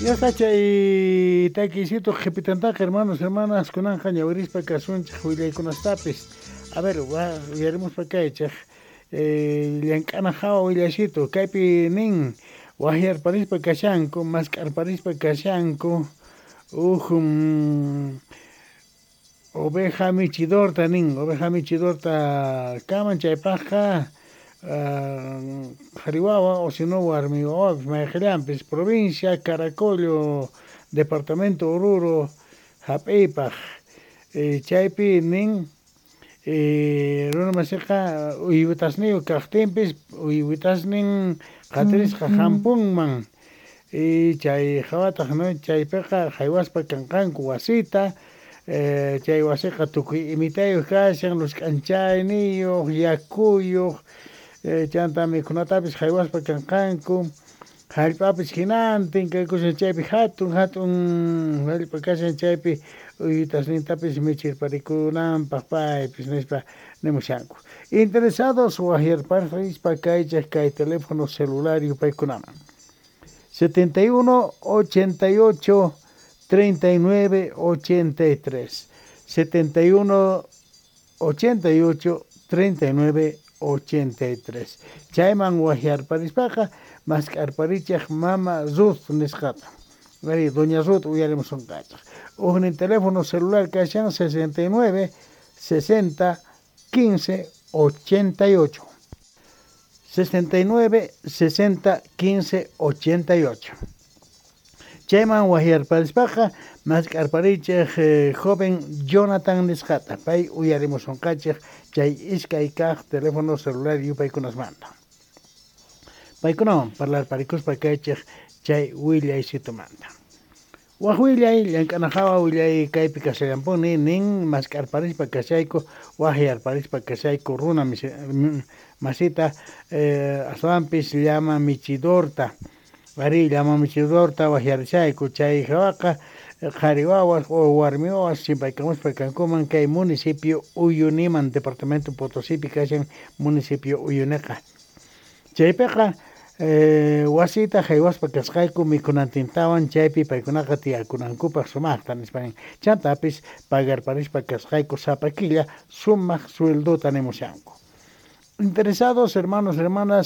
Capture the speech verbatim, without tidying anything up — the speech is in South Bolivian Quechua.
Ya está chay takisito qhipitantaqa, hermanos, hermanas, kunanqa ñawirispa kasunchik willaykunastapis. A ver, uyarimuspa kaychik eh, llank'ana hawa willasito kaypi nin waqyarparispa kashanku, mask'arparispa kashanku uj mm, oveja michidorta nin, oveja michidorta kaman chaypaqqa qhari wawa o si no warmi wawapis mayqillanpis provincia Caracollo, departamento Oruro hap'iypaq eh, chaypi nin eh, runa masiqa uywitasniyuq kaqtinpis uywitasnin qatirisqa hampunman y chay hawataq, no, chaypiqa haywaspa kanqanku wasita eh, chay wasiqa tukuy imitayuq kashan, luz k'anchayniyuq, yakuyuq, eh, chanta mikhunatapis haywaspa kanqanku, hallp'apis hinantin kaykushan chaypi hatun hatun hallp'a kashan chaypi uywitasnintapis michirparikunanpaq paypis nispa nimushanku. Interesados waqyarparispa kaychik kay teléfono celular yupaykunaman setenta y uno ochenta y ocho treinta y nueve ochenta y tres, setenta y uno ochenta y ocho treinta y nueve ochenta y tres. Chayman waqyarparispaqa mask'arparichik mama Ruth nisqata. Ari, doña Ruth uyarimusunqachik. Ujnin teléfono celular kashan sesenta y nueve sesenta quince ochenta y ocho, sesenta y nueve sesenta quince ochenta y ocho. Chayman waqyarparispaqa mask'arparichik eh, joven Jonathan nisqata, pay uyarimusunqachik chay iskay kaq teléfono celular yupaykunasmanta. Paykunawan parlarparikuspa kaychik chay willaysitumanta. Waj willay llank'ana hawa willay kaypi kashallampuni nin mask'arparispa kashayku, waqyarparispa kashayku runa masita eh, aswanpis llama michidorta. Ari, llama michidorta waqyarishayku chay hawaqa qhari wawas o warmi wawas chimpaykamuspa kankuman kay municipio Uyuniman, departamento Potosípi kashan municipio Uyuniqa. Chaypiqa eh, wasita haywaspa kasqayku mikhunantintawan chaypi paykunaqa tiyakunankupaq sumaqta nispa nin. Chantapis pagarparispa kasqayku sapa killa sumaq sueldota nimushanku. Interesados, hermanos, hermanas.